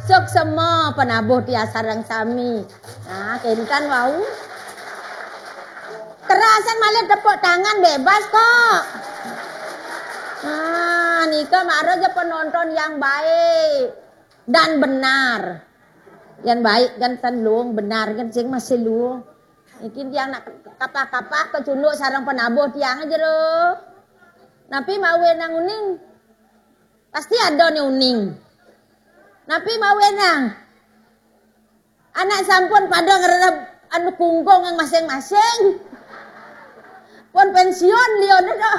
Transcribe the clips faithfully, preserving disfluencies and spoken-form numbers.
Suksma penabuh tiang sareng sami. Nah, kénten wau. Kerasan malih tepuk tangan bebas kok. Nah, nika mara ja penonton yang baik dan benar. Yang baik kan ten luung, benar kan sing masih luung. Niki tiang nak kapah-kapah kecunduk sareng penabuh tiang jero. Napi mawenang uning? Pasti ada nih uning. Napi mawenang? Anak sampun pada ngrerep anu kungkung yang masing-masing. Pun pensiun liya to.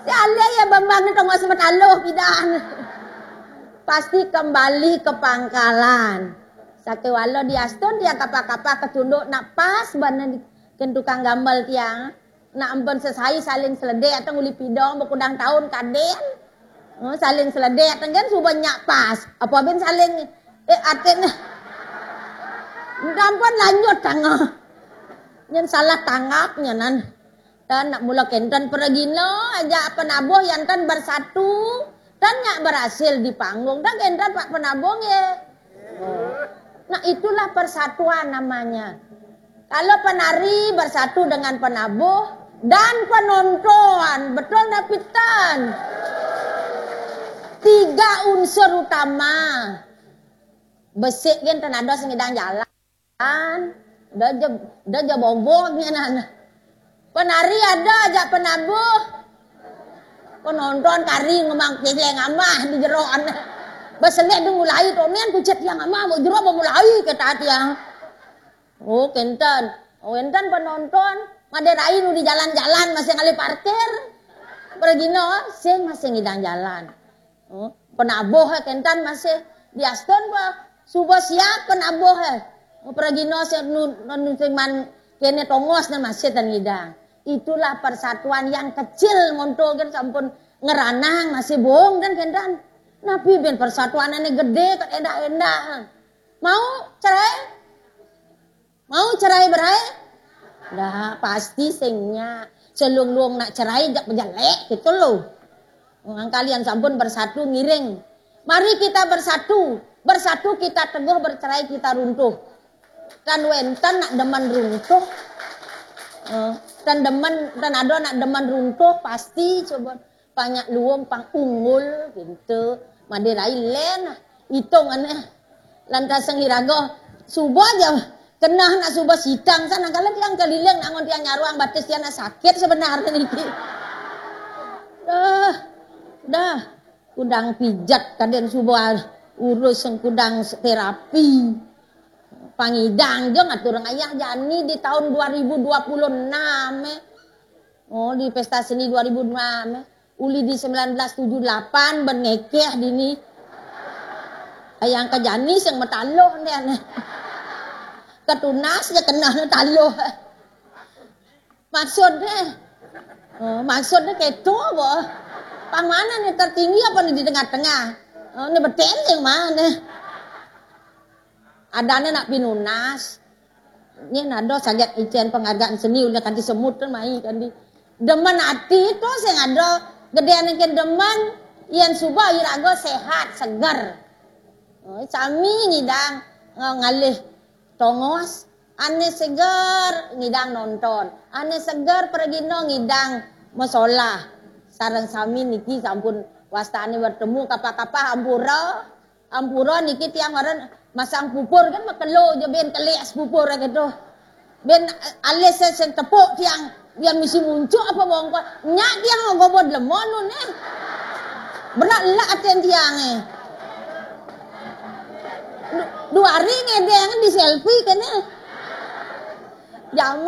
Ya alih ya Bambang ni tongos mataluh pidan. Pasti kembali ke pangkalan. Sakéwala diastun tiang kapah-kapah kecunduk nak pas bana di, kén tukang gambel tiang. Nak ampun sesai saling seledek ateng uli pidong bekudang taun kadén. Oh, saling seledek ateng kan suba nyak pas. Apa bin saling eh atin. Ampun lanjut tangah. Nyen salah tanggap nyenan. Dan nak mula kénten pergina aja penabuh yang ten bersatu dan nyak berhasil di panggung. Dan kénten Pak Penabuh ya. Nah, itulah persatuan namanya. Kalau penari bersatu dengan penabuh dan penonton, betul napi ten? Tiga unsur utama. Besik kan ten ada sing ngidang jalan. Da je, da je bogog nyenan. Penari ada ajak penabuh. Penonton kari ngemang tiang amah di jeroan. Beselik dong mulai tonian kucet tiang amah mau jero mau mulai kata tiang. Oh, kénten. Oh, kénten penonton. Madé rai nu di jalan-jalan masih ngalih parkir. Pergina sing masih ngidang jalan. Oh, penabuh eh, kénten masih diastun bah. Suba siap penabuh eh. Oh, pergina sing nu, nu sing man kéné tongos né masih ten ngidang. Itulah persatuan yang kecil monto kan sampun ngeranang masih bohong dan kénten. Napi bin persatuan ini gede kan endah-endah. Mau cerai? Mau cerai berai? Dah, pasti sing nya. Selung-lung nak cerai jak bejelek gitu loh. Wong kalian sampun bersatu ngiring. Mari kita bersatu. Bersatu kita teguh, bercerai kita runtuh. Kan wénten nak demen runtuh. Eh, kan demen, kan ada nak demen runtuh pasti coba. Panyak luung pang unggul gitu. Madé rai lén. Itung ané. Lantas sing iraga suba ja kenah nak suba sidang sana kala tiang keliling nak ngon tiang nyaruang batis tiang nak sakit sebenarnya niki. Dah. Dah. Kudang pijat kadén suba urus sing kudang terapi. Pangidang jo ngatur ayah jani di tahun dua ribu dua puluh enam eh. Oh, di pesta seni dua ribu enam eh. Uli di sembilan belas tujuh delapan ben ngekeh dini. Ayang kejani sing metaluh ndén. Ketunas je kenah taluh. Maksudnya, oh, maksudnya keto apa? Pang mana nih tertinggi apa nih di tengah-tengah? Oh, ini betel yang mana? Adanya nak pinunas. Ini nado saget icén penghargaan seni udah kanti semut kan mai kanti. Demen ati to sing ada gedéan engken demen yen suba iraga sehat, seger. Oh, sami ngidang, eh, ngalih tongos, ané seger ngidang nonton, ané seger pragina ngidang masolah. Sareng sami niki sampun wastane bertemu kapah-kapah ampura. Ampura niki tiang maren masang pupur kan makelo je ben kelik pupur gitu. Ben alis sing tepuk tiang, tiang misi muncuk apa bongkol. Nyak tiang gobo lemon nun eh. Berat lak aten tiang eh. Du-, dua hari ngedeng di selfie kene. Jaman